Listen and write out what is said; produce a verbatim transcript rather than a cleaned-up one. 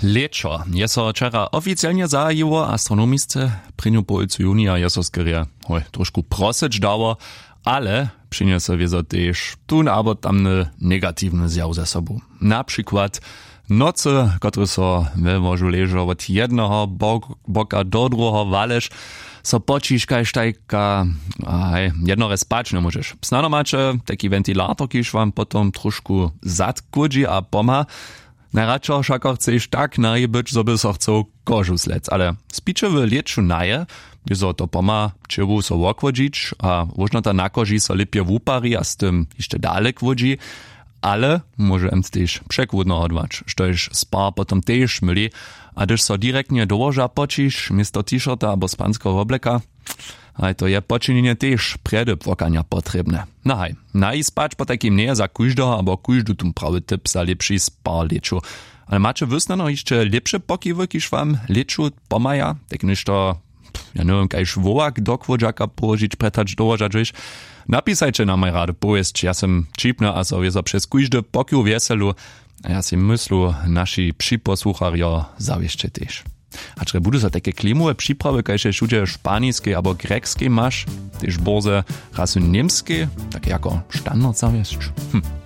Lěćo je so wčera oficielnje zahajiło, astronomisce prěnju połojcu junija je so skerje hoj tróšku prosyć dało, ale přinjese wězo tež tón abo tamny negatiwny zjaw ze sobu. Na přikład nocy, kotrež so we łožu ležo wot jedneho boka do druheho walež, so poćiš kaž tajka, haj, jednorje spać njemóžeš. Snano maće tajki wentilator, kiž wam potom tróšku zad chłódźi a pomha. Najradšo wšako chceš tak nahi być, zo by so chcał kožu slec, ale spiće w lěću nahe, wězo to pomha ćěłu so wochłodźić a wóžnota na koži so lěpje wupari a z tym hišće dale chłódźi. Ale móže mc tež překłódno hodłać, štož spar potom tež myli. A hdyž so direktnje do łoža poćiš město t-shirta abo spanskeho wobleka, haj, to je počinjenje tež prjedy płakanja potrěbne. No haj, nahi spać potajkim njeje za kóždeho abo kóždu tón prawy typ za lěpši spar w lěću. Ale maće wy snano hišće lěpše pokiwy, kiž wam w lěću pomhaja, tak něšto, ja njewěm, kaž wołak do chłódźaka połožić, prjed hač do łoža dźeš? Napisajće nam, maj rady powěsć, ja sym ćipny a so wězo přez kóždy pokiw wjeselu. A ja sej myslu, naši připosłucharjo zawěsće tež. Hač budu so tajke klimowe připrawy kaž je wšudźe w španiskej abo grjekskej maš, tež bórze raz w němskej, tak jako standard zawěsć? Hm.